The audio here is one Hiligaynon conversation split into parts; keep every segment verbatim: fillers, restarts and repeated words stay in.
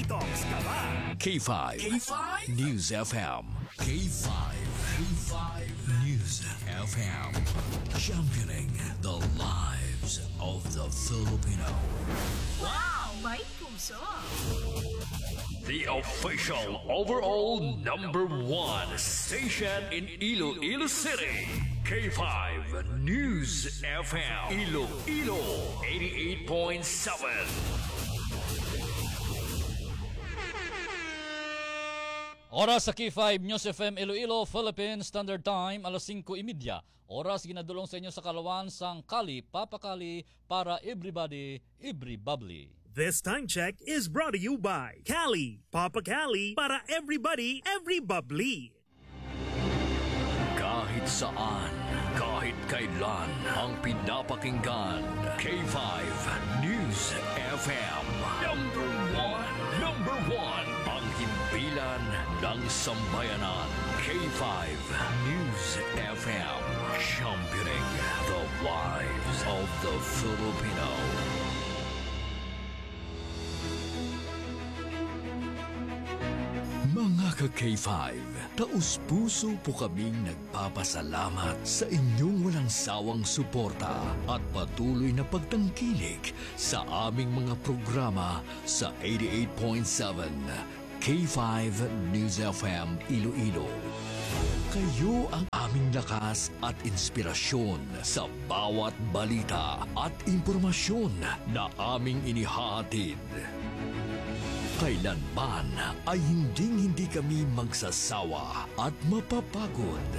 Talks ka ba? K five. K five. News F M. K five. K five News F M. Championing the lives of the Filipino. Wow! May puso! The official overall number one station in Iloilo City. K five News F M. Iloilo, eighty-eight point seven. Oras sa K five News F M Iloilo, Philippine Standard Time, alas singko y media. Oras ginadulong sa inyo sa kalawan sang Kali, Papa Kali, para everybody, every bubbly. This time check is brought to you by Cali, Papa Cali, para everybody, every bubbly. Kahit saan, kahit kailan, ang pinapakinggan, K five News F M. Number one, number one, ang himpilan ng sambayanan, K five News F M, championing the lives of the Filipino. Mga ka-K five, taus-puso po kaming nagpapasalamat sa inyong walang sawang suporta at patuloy na pagtangkilik sa aming mga programa sa eighty-eight point seven K five News F M Iloilo. Kayo ang aming lakas at inspirasyon sa bawat balita at impormasyon na aming inihahatid. Kailanman ay hinding-hindi kami magsasawa at mapapagod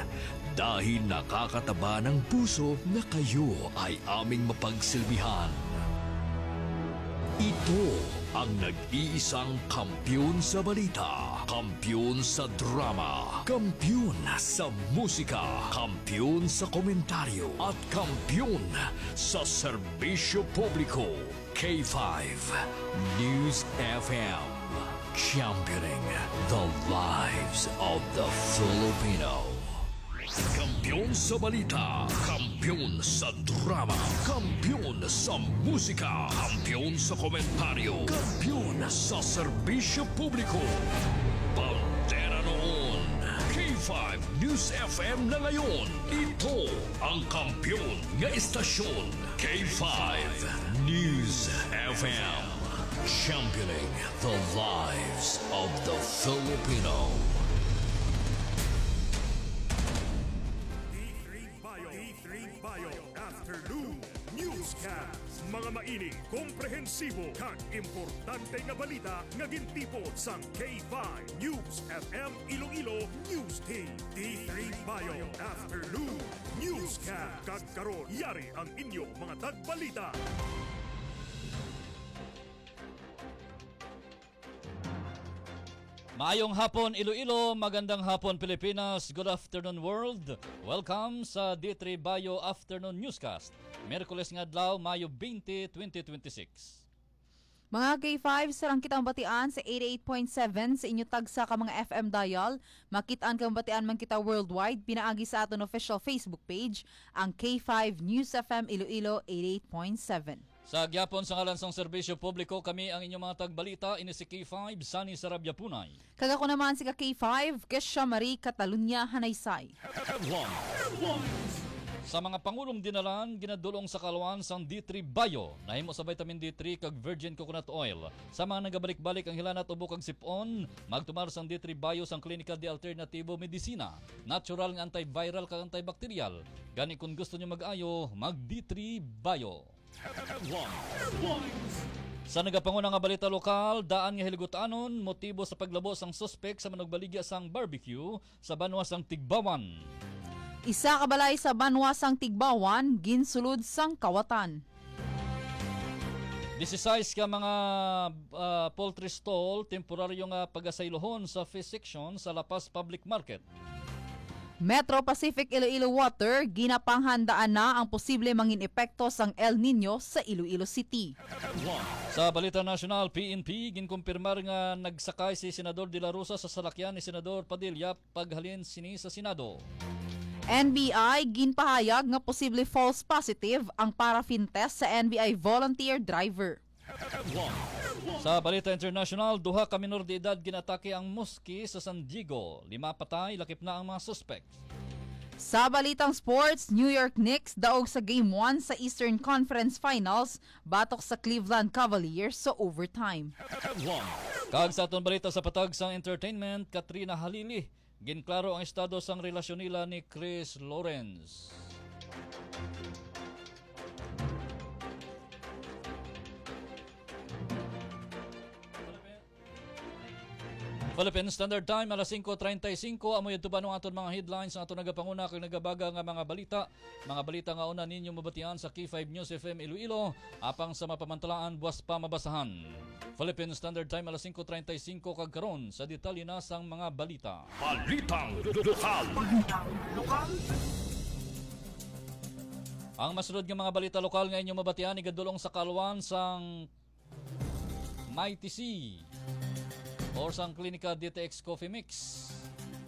dahil nakakataba ng puso na kayo ay aming mapagsilbihan. Ito ang nag-iisang kampiyon sa balita, kampiyon sa drama, kampiyon sa musika, kampiyon sa komentaryo, at kampiyon sa serbisyo publiko. K five News F M, championing the lives of the Filipino. Kampiyon sa balita, kampiyon sa drama, kampiyon sa musika, kampiyon sa komentaryo, kampiyon sa serbisyo publiko. Bandera noon, K five News F M na ngayon. Ito ang kampiyon nga istasyon, K five News F M. Championing the lives of the Filipino. D three Bio, D three Bio Afternoon Newscast. Mga mainit, komprehensibo, kag importante nga balita nga gintipon sang K five News F M Iloilo News Team. D three Bio Afternoon Newscast. Kag karon, yari ang inyo mga tagbalita. Maayong hapon, Iloilo. Magandang hapon, Pilipinas. Good afternoon, world. Welcome sa D three Bio Afternoon Newscast. Miyerkules nga adlaw, Mayo twenty, twenty twenty-six. Mga K five, sarang kitang batian sa eighty-eight point seven sa inyo tagsa ka mga F M dial. Makit-an kag mabatian man kita worldwide pinaagi sa aton official Facebook page, ang K five News F M Iloilo eighty-eight point seven. Sa gihapon, sa ngalan sang serbisyo publiko, kami ang inyong mga tagbalita, ini si K five, Sunny Sarabia Punay. Kag ako naman si ka K five, Kesha Marie Catalunya Hanaysay. Headlines. Sa mga pangulong dinalan, ginadulong sa kalawan sang D three Bio, nahimo sa vitamin D three kag virgin coconut oil. Sa mga nagabalik-balik ang hilanat, ubo kag sip-on, magtumar sang D three Bio sang Klinika de Alternativo Medicina. Natural nga antiviral kag antibacterial. Gani, kung gusto nyo mag-ayo, mag D three Bio. Headlines. Sa nagapanguna nga balita lokal, daan nga hiligutan-on motibo sa paglabo sang suspek sa manugbaligya sang barbecue sa banwa sang Tigbawan. Isa ka balay sa banwa sang Tigbawan ginsulod sang kawatan. Disisais ka mga, ah, poultry stall temporaryo nga pagasaylohon sa fish section sa La Paz Public Market. Metro Pacific Iloilo Water, ginapanghandaan na ang posible mangin epekto sang El Niño sa Iloilo City. Sa balita nasyonal, P N P ginkumpirmar nga nagsakay si Senador De La Rosa sa salakyan ni Senador Padilla paghalin sini sa Senado. N B I ginpahayag nga posible false positive ang paraffin test sa N B I volunteer driver. Headlines. Sa balita international, duha ka minor de edad ginatake ang moske sa San Diego. Lima patay, lakip na ang mga suspek. Sa balitang sports, New York Knicks daog sa Game one sa Eastern Conference Finals batok sa Cleveland Cavaliers sa overtime. Kag sa aton balita sa patag sang entertainment, Katrina Halili, ginklaro ang estado sang relasyon nila ni Chris Lawrence. Philippine Standard Time, alas singko treinta y cinco. Amo yadto ba ang aton mga headlines, ang aton nagapanguna kag nagabaga nga mga balita. Mga balita nga una ninyo mabatian sa K five News F M Iloilo, apang sa mapamantalaan, buwas pa mabasahan. Philippine Standard Time, alas singko treinta y cinco, kag karon sa detalye na sang mga balita. Balitang lokal. Ang masunod nga mga balita lokal nga inyo mabatian, igadulong sa kalwan sang Mighty C or sang Clinica D T X Coffee Mix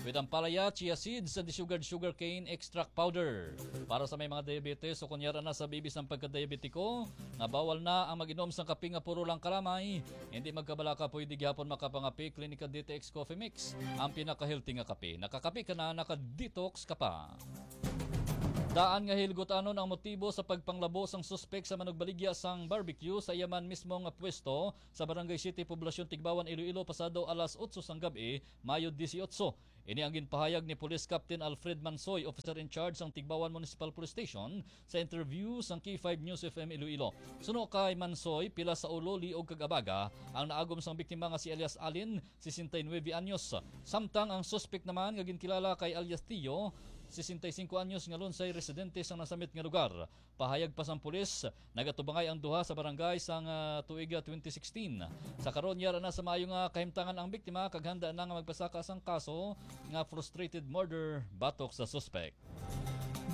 with ampalaya, chia seeds, and the sugared sugarcane extract powder. Para sa may mga diabetes o kunyara na sa bibis ang pagkadiabetiko, nga bawal na ang mag-inom sang kape nga puro lang kalamay, hindi magkabalaka, pwede gihapon makapangape Clinica D T X Coffee Mix, ang pinaka-healthy nga kape. Nakakape ka na, naka-detox ka pa. Daan nga hilgutanon ang motibo sa pagpanglabo sang suspek sa manugbaligya sang barbecue sa iya man mismo nga pwesto sa Barangay Siete, Poblacion Tigbauan, Iloilo, pasado alas otso sang gab-i, Mayo dieciocho. Ini ang ginpahayag ni Police Captain Alfred Mansoy, officer in charge sang Tigbauan Municipal Police Station, sa interview sang K five News F M Iloilo. Suno kay Mansoy, pila sa ulo, liog kag abaga ang naagom sang biktima nga si alias Alin, sesenta y nuebe anyos. Samtang ang suspek naman nga ginkilala kay alias Tio, sesenta y cinco anyos, nga lunsay residente sang nasamit nga lugar. Pahayag pa sang pulis, nagatubangay ang duha sa barangay sang, ah, tuig, ah, twenty sixteen. Sa karon, yara na sa maayo nga kahimtangan ang biktima kag handa na nga magpasaka sang kaso nga frustrated murder batok sa suspek.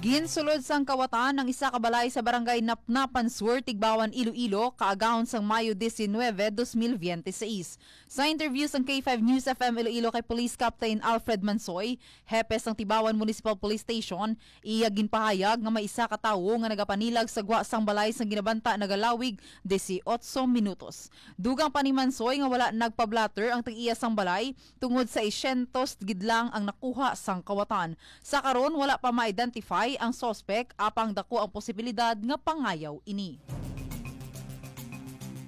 Ginsulod sang kawatan ang isa ka balay sa barangay Napnapan Sur, Tigbauan, Iloilo, kaagahon sang Mayo diecinuebe, dos mil biyente seis. Sa interview sang K five News F M Iloilo kay Police Captain Alfred Mansoy, hepe sang Tigbauan Municipal Police Station, iya ginpahayag nga may isa ka tawo nga nagapanilag sa gwa sang balay sang ginabanta nagalawig dieciocho minutos. Dugang pa ni Mansoy nga wala nagpa-blotter ang tag-iya sang balay tungod sa isyentos gid lang ang nakuha sang kawatan. Sa karon, wala pa ma-identify ang suspect, apang dako ang posibilidad nga pangayaw ini.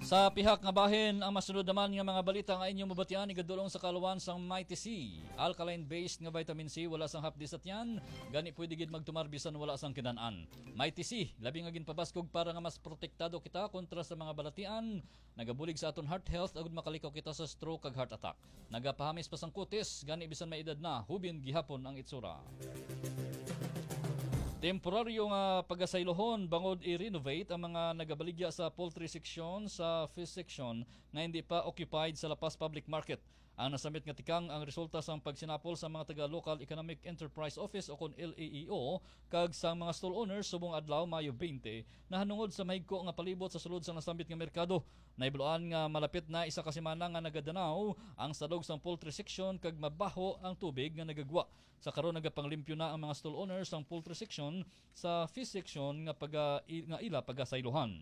Sa pihak nga bahin, ang masunod naman nga mga balita nga inyong mabatian igadulong sa kalwan sang Mighty C. Alkaline-based nga vitamin C, wala sang hapdi sa tiyan, gani pwede gid magtumar bisan wala sang kinan-an. Mighty C, labi nga ginpabaskog para nga mas protektado kita kontra sa mga balatian, nagabulig sa aton heart health agud makalikaw kita sa stroke kag heart attack. Nagapahamis pa sang kutis, gani bisan may edad na, hubin gihapon ang itsura. Temporaryo nga pagasaylohon bangod i-renovate ang mga nagabaligya sa poultry section sa fish section nga hindi pa occupied sa La Paz Public Market. Ang nasamit nga tikang ang resulta sang pagsinapol sa mga taga Local Economic Enterprise Office o kon L E E O kag sang mga stall owners subong adlaw, Mayo twenty, nahanungod sa mahigko nga palibot sa sulod sa nasambit nga merkado. Nahibaluan nga malapit na isa ka semana nga nagadanaw ang salog sang poultry section kag mabaho ang tubig nga nagagwa. Sa karon, nagapanglimpyo na ang mga stall owners sang poultry section sa fish section nga paga-, nga ila pagasaylohan.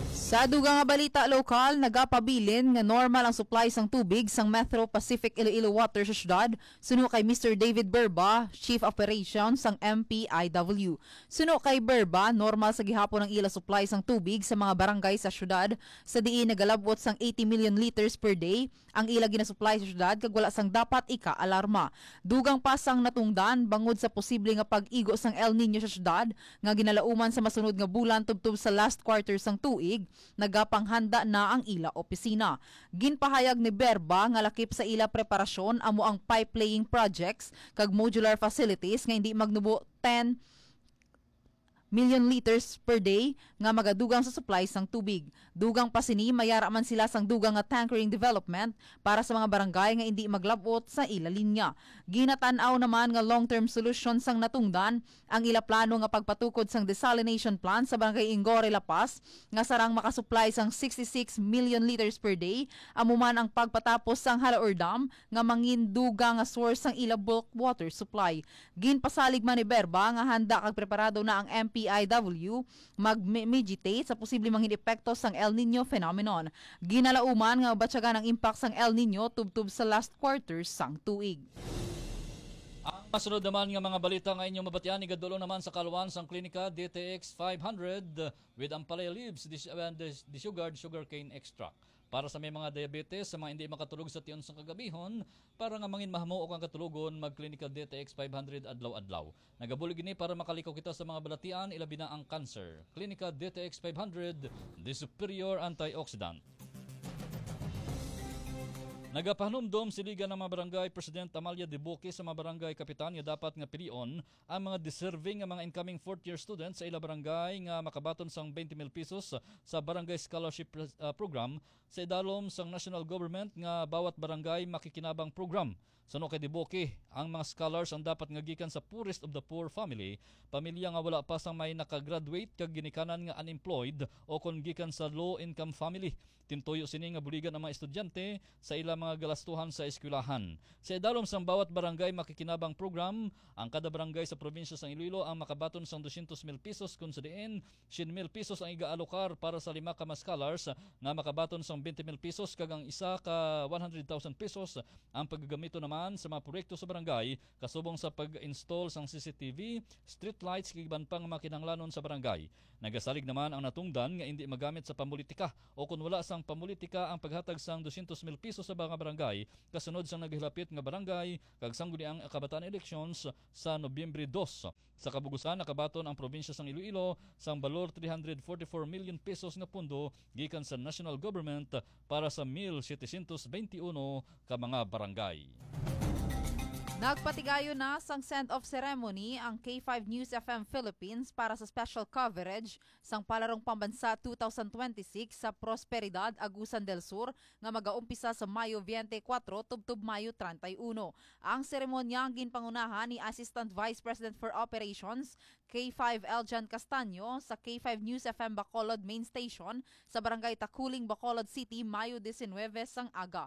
Sa dugang nga balita lokal, nagapabilin nga normal ang supply sang tubig sang Metro Pacific Iloilo Water sa syudad, suno kay Mister David Berba, Chief Operation sang M P I W. Suno kay Berba, normal sa gihapon ang ila supply sang tubig sa mga barangay sa syudad, sa diin nagalabot sang eighty million liters per day ang ila ginasupply sa syudad kag wala sang dapat ika-alarma. Dugang pa sang natungdan bangod sa posible nga pag-igo sang El Niño sa syudad nga ginalauman sa masunod nga bulan tubtob sa last quarter sang tuig, nagapanghanda na ang ila opisina. Ginpahayag ni Berba nga lakip sa ila preparasyon amo ang pipe laying projects kag modular facilities nga hindi magnubo ten million liters per day nga magadugang sa supply sang tubig. Dugang pa sini, mayara man sila sang dugang nga tankering development para sa mga barangay nga indi maglabot sa ila linya. Ginatan-aw naman nga long-term solution sang natungdan ang ila plano nga pagpatukod sang desalination plant sa Barangay Ingore, La Paz, nga sarang makasupply sang sixty-six million liters per day, amo man ang pagpatapos sang Halaor Dam nga mangin dugang nga source sang ila bulk water supply. Ginpasalig man ni Berba nga handa kag preparado na ang M P I W mag-mitigate sa posible mangin epekto sang El Nino phenomenon. Ginalauman nga mabatyagan ang impact sang El Nino tubtob sa last quarter sang tuig. Ang masunod naman nga mga balita nga inyo mabatian, igadulong naman sa kaluan sang Klinika D T X five hundred with ampalaya leaves, dis-, and dis-, disugared sugarcane extract. Para sa may mga diabetes, sa mga hindi makatulog sa tion sang kagabihon, para nga mangin mahamuok ang katulogon, mag-Klinika D T X five hundred adlaw-adlaw. Nagabulig ini para makalikaw kita sa mga balatian, ilabi na ang cancer. Klinika D T X five hundred, the superior antioxidant. Nagapahanumdom si Liga ng mga Barangay President Amalia Debuque sa mga barangay kapitan nga dapat nga pilion ang mga deserving nga mga incoming fourth year students sa ila barangay nga makabaton sang twenty mil pesos sa Barangay Scholarship, ah, Program sa idalom sang national government nga bawat barangay makikinabang program. Suno kay Debuque, ang mga scholars ang dapat nga gikan sa poorest of the poor family, pamilya nga wala pa sang may nakagraduate kag ginikanan nga unemployed o kon gikan sa low income family. Tintuyo sini nga buligan ang mga estudyante sa ila mga galastuhan sa eskwelahan. Sa idalom sang bawat barangay makikinabang program, ang kada barangay sa probinsya sang Iloilo ang makabaton sang dosyentos mil pesos, kon sa diin syen mil pesos ang iga-alokar para sa lima ka mga scholars nga makabaton sang twenty mil pesos kag ang isa ka one hundred thousand pesos ang pagagamiton naman sa mga proyekto sa barangay, kasubong sa pag-install sang C C T V, street lights kag iban pa nga mga kinahanglanon sa barangay. Nagasalig naman ang natungdan nga indi magamit sa pamulitika o kon wala sang pamulitika ang paghatag sang dosyentos mil pesos sa mga barangay kasunod sang naghilapit nga barangay kag sangguniang kabataan elections sa Nobyembre dos. Sa kabugusan, nakabaton ang probinsya sang Iloilo sang balor three hundred forty-four million pesos nga pondo gikan sa national government para sa mil setecientos veintiuno ka mga barangay. Nagpatigayon na sang send-off ceremony ang K five News F M Philippines para sa special coverage sang Palarong Pambansa two thousand twenty-six sa Prosperidad, Agusan del Sur, nga magaumpisa sa Mayo twenty-four tubtob Mayo treinta y uno. Ang seremonya ang ginpangunahan ni Assistant Vice President for Operations, K five Eljan Castaño, sa K five News F M Bacolod Main Station sa Barangay Taculing, Bacolod City, Mayo diecinueve sang aga.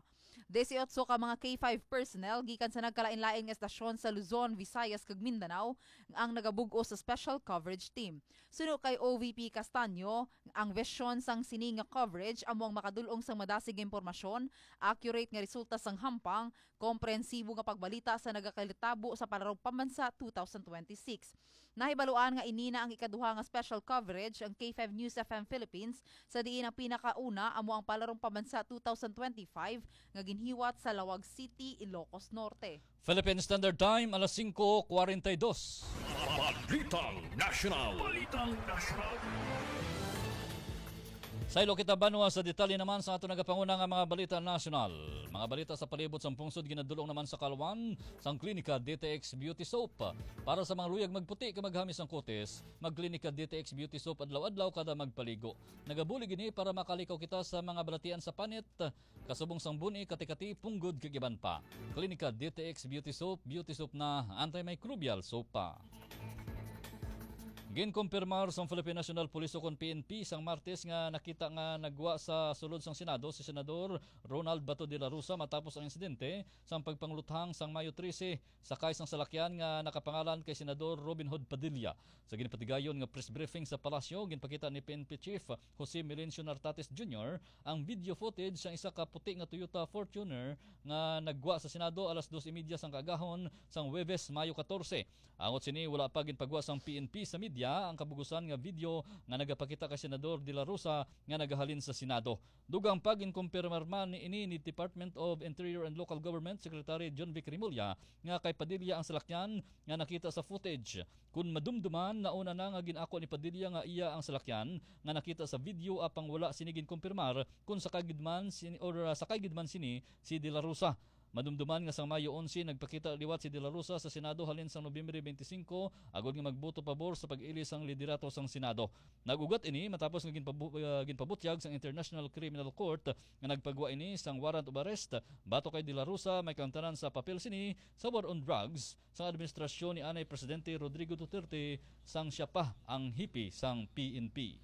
Dieciocho ka mga K five personnel gikan sa nagkalain-lain nga estasyon sa Luzon, Visayas, kag Mindanao ang nagabug-os sa special coverage team. Suno kay O V P Castaño, ang vision sang sini nga coverage amo ang makadul-ong sang madasig nga impormasyon, accurate nga resulta sang hampang, komprehensibo nga pagbalita sa nagakalitabo sa Palarong Pambansa two thousand twenty-six. Nahibaluan nga ini na ang ikaduha nga special coverage ang K five News F M Philippines, sa diin ang pinakauna amo ang Palarong Pambansa two thousand twenty-five nga ginhiwat sa Laoag City, Ilocos Norte. Philippine Standard Time, alas singko kwarenta y dos. Balitang National. Balitang National. Saylo kita banwa sa detalye naman sa ato nagapanguna nga mga balita nasyonal. Mga balita sa palibot sang pungsod ginadulong naman sa kaluan sang Klinika D T X Beauty Soap. Para sa mga luyag magputi kag maghamis ang kutis, mag-Klinika D T X Beauty Soap adlaw-adlaw kada magpaligo. Nagabulig ini para makalikaw kita sa mga balatian sa panit, kasubong sang buni, kati-kati, punggod, kag iban pa. Klinika D T X Beauty Soap, Beauty Soap na, antimicrobial soap pa. Ginkumpirmar sang Philippine National Police o kon P N P sang Martes nga nakita nga nagwa sa sulod sang Senado si Senador Ronald Bato de la Rosa matapos ang insidente sang pagpangluthang sang Mayo trese sakay sang salakyan nga nakapangalan kay Senador Robin Hood Padilla. Sa ginpatigayon nga press briefing sa palasyo, ginpakita ni P N P Chief Jose Melencio Nartates Junior ang video footage sang isa ka puti nga Toyota Fortuner nga nagwa sa Senado alas dos y media sang kaagahon sang Huwebes, Mayo katorse. Angot sini, wala pa ginpagwa sang P N P sa media ang kabugusan nga video nga nagapakita kay Senador De La Rosa nga nagahalin sa Senado. Dugang pa, ginkumpirmar man ni ini ni Department of Interior and Local Government Secretary Jonvic Remulla nga kay Padilla ang salakyan nga nakita sa footage. Kun madumduman, nauna na nga gin-ako ni Padilla nga iya ang salakyan nga nakita sa video, apang wala sini ginkumpirmar kun sakay gid man sini, or, ah, sakay gid man sini si De La Rosa. Madumduman nga sang Mayo onse, nagpakita liwat si De La Rosa sa Senado halin sang Nobyembre twenty-five, agod nga magboto pabor sa pag-ili sang liderato sang Senado. Nag-ugat ini matapos nga ginpabu-, ah, ginpabutyag sang International Criminal Court nga nagpagwa ini sang warrant of arrest batok kay De La Rosa, may kaangtanan sa papel sini sa war on drugs sang administrasyon ni anay Presidente Rodrigo Duterte sang siya pa ang hipi sang P N P.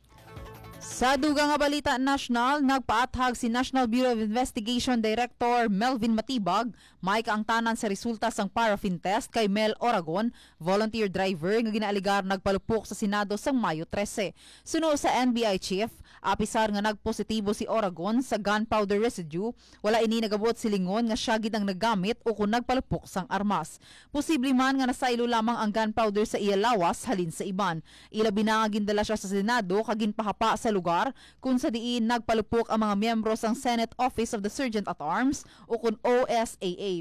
Sa dugang nga balita nasyonal, nagpaathag si National Bureau of Investigation Director Melvin Matibag may kaangtanan sa resulta sang paraffin test kay Mel Oragon, volunteer driver nga ginaaligar nagpalupok sa Senado sang Mayo trese. Suno sa N B I chief, apisar nga nagpositibo si Oragon sa gunpowder residue, wala ini nagabot silingon nga sia gid ang naggamit o kon nagpalupok sang armas. Posible man nga nasaylo lamang ang gunpowder sa iya lawas halin sa iban. Ilabi na nga gindala sia sa Senado kag ginpahapa sa lugar kung sa diin nagpalupok ang mga miyembro sang Senate Office of the Sergeant at Arms o kon O S A A.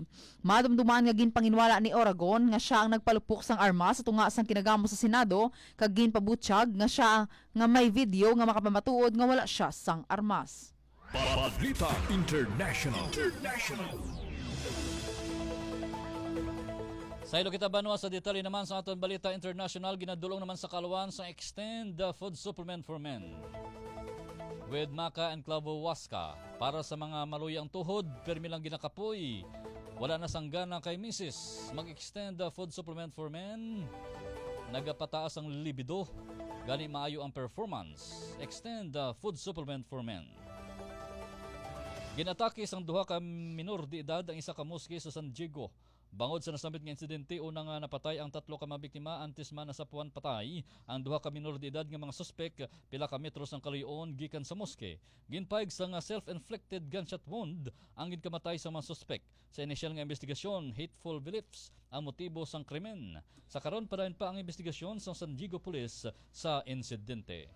Madumduman nga ginpanginwala ni Oragon nga sia ang nagpalupok sang armas sa tunga sang kinagamo sa Senado kag ginpabutyag nga sia nga may video nga makapamatuod nga wala sia sang armas. Balita International. International. Saylo kita banwa sa detalye naman sa aton balita international, ginadulong naman sa kaluan sa Extend the Food Supplement for Men with Maca and Clavo Huasca. Para sa mga maluya ang tuhod, permi lang ginakapoy. Wala na sanggana kay misis. Mag-extend the food supplement for men. Nagapataas ang libido. Gani maayo ang performance. Extend the food supplement for men. Ginatake sang duha ka minor de edad ang isa ka moske sa San Diego. Bangod sa nasambit nga insidente, una nga napatay ang tatlo ka mga biktima antes man nasapuan patay ang duha ka minor de edad nga mga suspek pila ka metro sang kaluy-on gikan sa moske. Ginpahayag sa nga self-inflicted gunshot wound ang ginkamatay sa mga suspek. Sa inisyal nga investigasyon, hateful beliefs ang motibo sang krimen. Sa karon, padayon pa ang investigasyon sang San Diego Police sa insidente.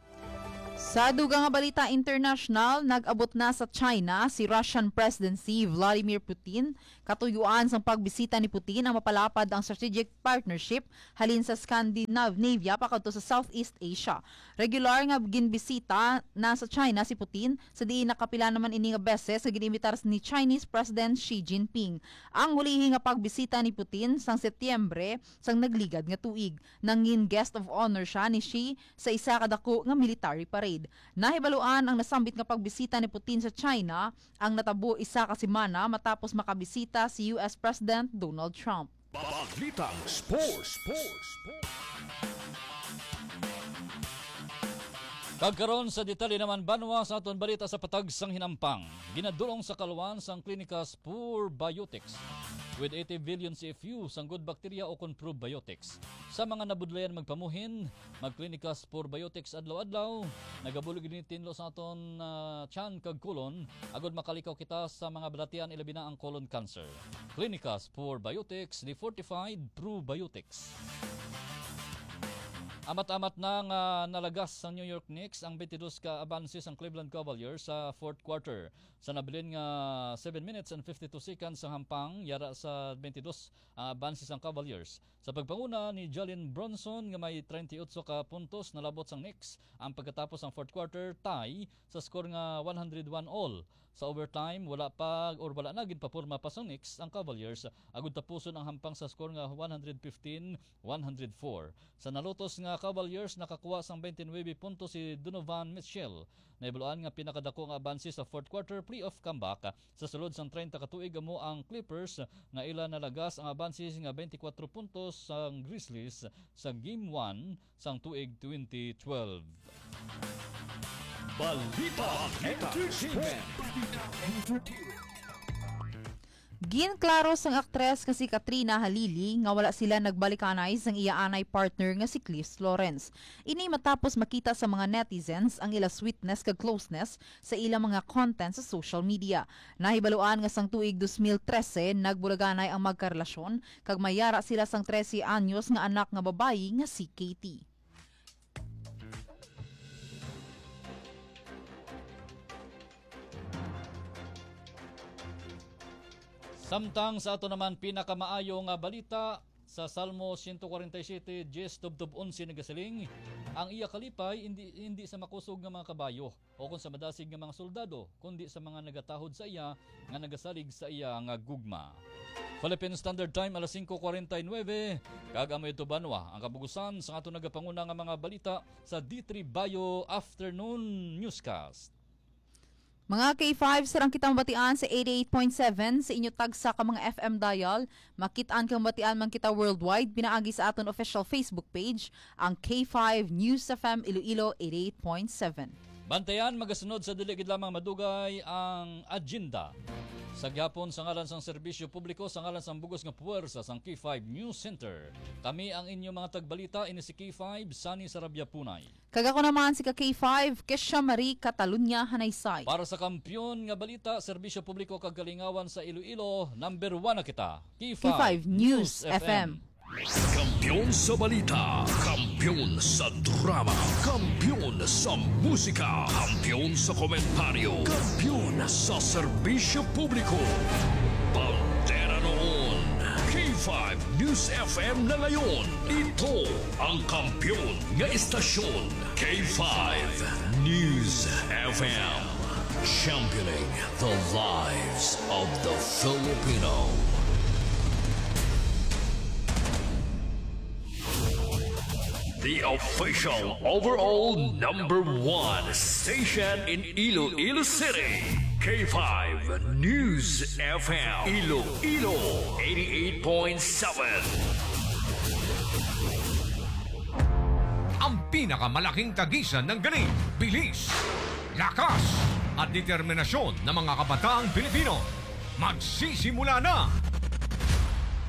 Sa dugang nga balita international, nag-abot na sa China si Russian President si Vladimir Putin. Katuyuan sang pagbisita ni Putin ang mapalapad ang strategic partnership halin sa Scandinavia pakadto sa Southeast Asia. Regular nga ginbisita na sa China si Putin, sa diin nakapila naman ini nga beses nga gin-imbitar ni Chinese President Xi Jinping. Ang hulihi nga pagbisita ni Putin sang Setyembre sang nagligad nga tuig. Nangin guest of honor siya ni Xi sa isa ka dako nga military parade. Nahibaluan ang nasambit nga pagbisita ni Putin sa China ang natabo isa ka semana matapos makabisita si U S President Donald Trump. Balitang Sports. Kag karon sa detalye naman, banwa, sa aton balita sa patag sang hinampang. Ginadulong sa kaluan sang Clinicas Probiotics with eighty billion C F U sang good bacteria o kon probiotics. Sa mga nabudlayan magpamuhin, mag-Clinicas Probiotics adlaw-adlaw. Nagabulig ini tinlo sa aton, ah, tiyan kag kolon, agud makalikaw kita sa mga balatian, ilabi na ang colon cancer. Clinicas Probiotics, the fortified probiotics. Amat-amat na nga nalagas sang New York Knicks ang twenty-dos ka abanse sang Cleveland Cavaliers sa fourth quarter. Sa nabilin nga seven minutes and fifty-two seconds sang hampang, yara sa twenty-dos ang abanse sang Cavaliers. Sa pagpanguna ni Jalen Brunson nga may treinta y ocho ka puntos, nalabot sang Knicks ang pagkatapos sang fourth quarter tie sa score nga one hundred one all. Sa overtime, wala pa or wala na ginpaporma pa sang Knicks ang Cavaliers, agud tapuson ang hampang sa score nga one hundred fifteen one hundred four. Sa nalutos nga Cavaliers, nakakuha sang twenty-nine puntos si Donovan Mitchell. Nahibaluan nga pinakadako nga abanse sa fourth quarter playoff comeback sa sulod sang treinta ka tuig amo ang Clippers, nga ila nalagas ang abanse nga twenty-four puntos sang Grizzlies sa Game one sang tuig twenty twelve. Balita Entertainment. Ginklaro sang aktres nga si Katrina Halili nga wala sila nagbalikanay sang iya anay partner nga si Cliff Lawrence. Ini matapos makita sa mga netizens ang ila sweetness kag closeness sa ila mga content sa social media. Nahibaluan nga sang tuig dos mil trese, nagbulaganay ang magkarelasyon kag may yara sila sang trese anyos nga anak nga babayi nga si Katie. Samtang sa ato naman pinakamaayo nga balita, sa Salmo siyento kwarenta y siyete, diyes tubtob onse nagasiling, "Ang iya kalipay hindi, hindi sa makusog nga mga kabayo, o kon sa madasig nga mga soldado, kundi sa mga nagatahod sa iya, nga nagasalig sa iya nga gugma." Philippine Standard Time, alas singko kwarenta y nuebe, kag amo ito, banwa, ang kabugusan sa ato nagapanguna nga mga balita sa D three Bayo Afternoon Newscast. Mga K five, sarang kita mabatian sa eighty-eight point seven sa inyo tagsa ka mga F M dial. Makit-an kag mabatian man kita worldwide pinaagi sa aton official Facebook page, ang K five News F M Iloilo eighty-eight point seven. Bantayan, magasunod sa dili gid lamang madugay ang agenda. Sa gihapon, sa ngalan sang serbisyo publiko, sa ngalan sang bugos nga puwersa sang K five News Center, kami ang inyo mga tagbalita, ini si K five, Sunny Sarabia Punay. Kag ako naman si ka K five, Kesha Marie Catalunya Hanaysay. Para sa Kampiyon nga Balita, Serbisyo Publiko kag Kalingawan sa Iloilo, number one na kita. K five News F M. Kampiyon sa balita, kampiyon sa drama, kampiyon sa musika, kampiyon sa komentaryo, kampiyon sa serbisyo publiko. Bandera noon, K five News F M na ngayon. Ito ang kampiyon nga istasyon, K five News F M. Championing the lives of the Filipino. The official overall number one station in Iloilo City, K five News F M, Iloilo eighty-eight point seven. Ang pinakamalaking tagisan ng galing, bilis, lakas, at determinasyon ng mga kabataang Pilipino. Magsisimula na!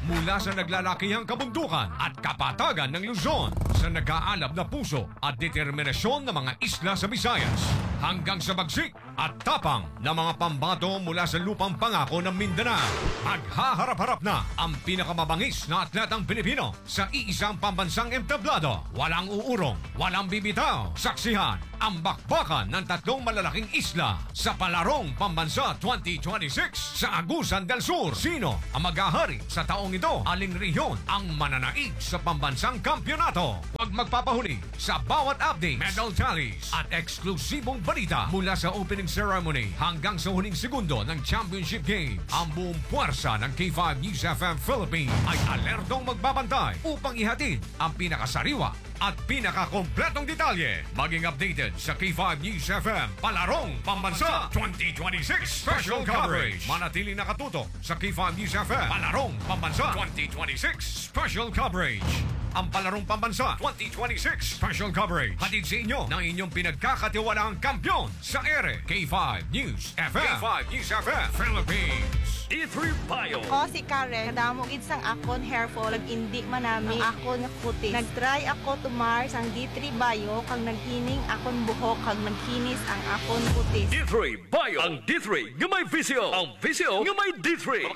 Mula sa naglalakihang kabundukan at kapatagan ng Luzon, sa nag-aalab na puso at determinasyon ng mga isla sa Visayas, hanggang sa bagsik at tapang ng mga pambato mula sa lupang pangako ng Mindanao, maghaharap-harap na ang pinakamabangis na atletang Pilipino sa iisang pambansang entablado. Walang uurong, walang bibitaw. Saksihan ang bakbakan ng tatlong malalaking isla sa Palarong Pambansa twenty twenty-six sa Agusan del Sur. Sino ang maghahari sa taong ito? Aling rehiyon ang mananaig sa pambansang kampiyonato? Huwag magpapahuli sa bawat update, medal tallies, at eksklusibong balita mula sa opening ceremony hanggang sa huling segundo ng championship game. Ang buong puwersa ng K five News F M Philippines ay alertong magbabantay upang ihatid ang pinakasariwa at pinakakompletong detalye. Maging updated sa K five News F M Palarong Pambansa twenty twenty-six Special Coverage. Manatili nakatutok sa K five News F M Palarong Pambansa twenty twenty-six Special Coverage. Ang Palarong Pambansa twenty twenty-six Special Coverage, hatid sa inyo ng inyong pinagkakatiwalaang kampiyon sa ere, K five News F M. K five News F M Philippines. D three Bio. Ako si Karen. Kadamo gid sang akon hair fall, kag indi manami ang akon nga kutis. Nag-try ako tumar sang D three Bio, kag naghining akon buhok, kag nagkinis ang akon kutis. D three Bio. Ang D three nga may V C O. Ang V C O nga may D three.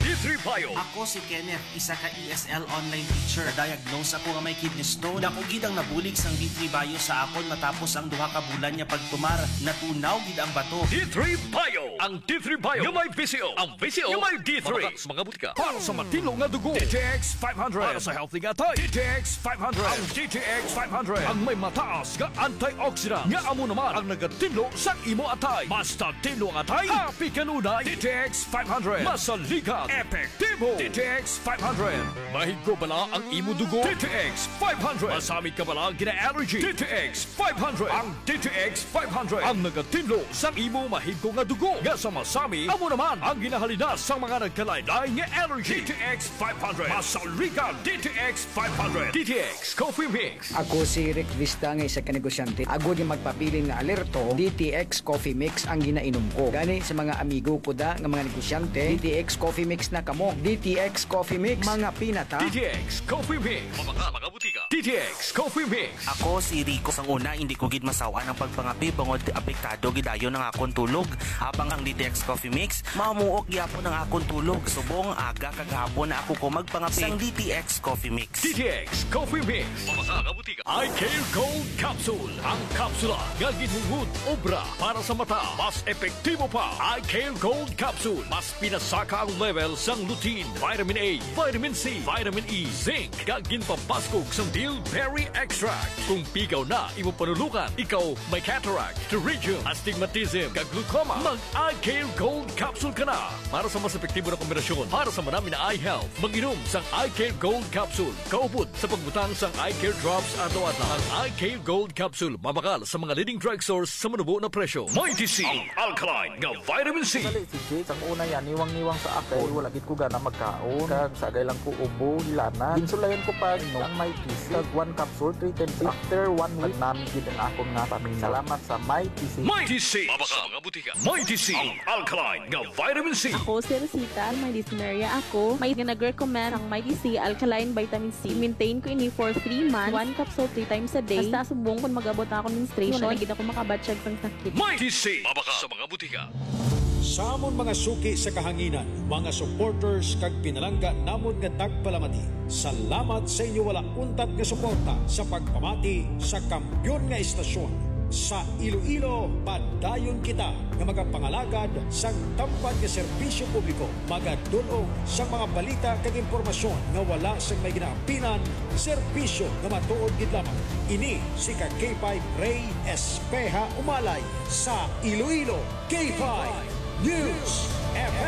D three Bio. Ako si Kenneth, isa ka E S L online teacher. Na-diagnose ako nga may kidney stone. Dako gid ang nabulig sang D three Bio sa akon matapos ang duha ka bulan nga pagtumar. Natunaw gid ang bato. D three Bio. Ang D three Bio nga may V C O. Ang V C O nga may D three. Mga butika. Para sa matinlo nga dugo, D T X five hundred. Para sa healthy nga atay, D T X five hundred. Ang D T X five hundred ang may mataas nga antioxidant nga amo naman ang nagatinlo sa imo atay. Basta tinlo ang atay, happy kanunay. D T X five hundred. Masaligan, epektibo. D T X five hundred. Mahigko bala ang imo dugo? D T X five hundred. Masamit ka bala gina-allergy? D T X five hundred. Ang D T X five hundred ang nagatinlo sang imo mahigko nga dugo nga sa masami, amo naman ang ginahalinas sang mga nagkalain-lain nga allergy. D T X five hundred. Masaligan, D T X five hundred. D T X Coffee Mix. Ako si Rick Vista nga isa ka negosyante. Agod nga magpabilin nga alerto, D T X Coffee Mix ang ginainom ko. Gani sa mga amigo ko da nga mga negosyante, D T X Coffee Mix na kamo. D T X Coffee Mix, mga pinata. D T X Coffee Mix. Mga, mga butika. D T X Coffee Mix. Ako si Rico. Sang una, hindi ko gid masaw-an ang pagpangape bangod apektado gid dayon ang akon tulog. Habang ang D T X Coffee Mix, mamuok gyapon ang akon tulog. Subong aga kag hapon na ako ko magpangape. Sang D T X Coffee Mix. D T X Coffee Mix. Mga kabutika. Eye Care Gold Capsule. Ang kapsula nga ginhungod obra para sa mata. Mas epektibo pa. Eye Care Gold Capsule. Mas pinasaka ang level sang lutein, vitamin A, vitamin C, vitamin E, zinc, kag ginpabaskog sang bilberry extract. Kung pigaw na imo panulukan, ikaw may cataract, pterygium, astigmatism, kag glaucoma, mag Eye Care Gold Capsule ka na. Para sa mas epektibo na kombinasyon para sa manami na eye health, mag-inom sang Eye Care Gold Capsule. Kaupod sa pagbutang sang Eye Care Drops adlaw-adlaw. Ang Eye Care Gold Capsule mabakal sa mga leading drugstores sa manubo na presyo. Mighty C, ang alkaline nga vitamin C. Dali, si Jake, ang una yan, niwang-niwang sa ako. Wala gid ko gana magkaon. Kag sagay lang ko ubo, hilanat. Ginsulayan ko pa, no, ang Mighty C. Kag one capsule, three times. After one week, nagnami gid ang akon nga pamina. Salamat sa Mighty C. Mighty C. Mabakal sa mga butika. Mighty C, ang alkaline nga vitamin C. Ako si Rosita, may dysmenorrhea ako. May nga nag-recommend ang Mighty C alkaline vitamin C. Maintain ko ini for three months. One capsule three times a day. Hasta subong kung mag-abot na akong menstruation, wala gid ako makabatyag sang sakit. Mighty C, mabakal sa mga butika. Sa amon mga suki sa kahanginan, mga supporters kag pinalangga namon nga tagpalamati, salamat sa inyo wala untat nga suporta sa pagpamati sa kampiyon nga estasyon. Sa Iloilo, padayon kita nga magapangalagad sang tampad nga serbisyo publiko, magadul-ong sang mga balita kag impormasyon nga wala sang may ginaampinan, serbisyo nga matuod gid lamang. Ini si ka K five Ray Espeha Umalay sa Iloilo, K five News F M.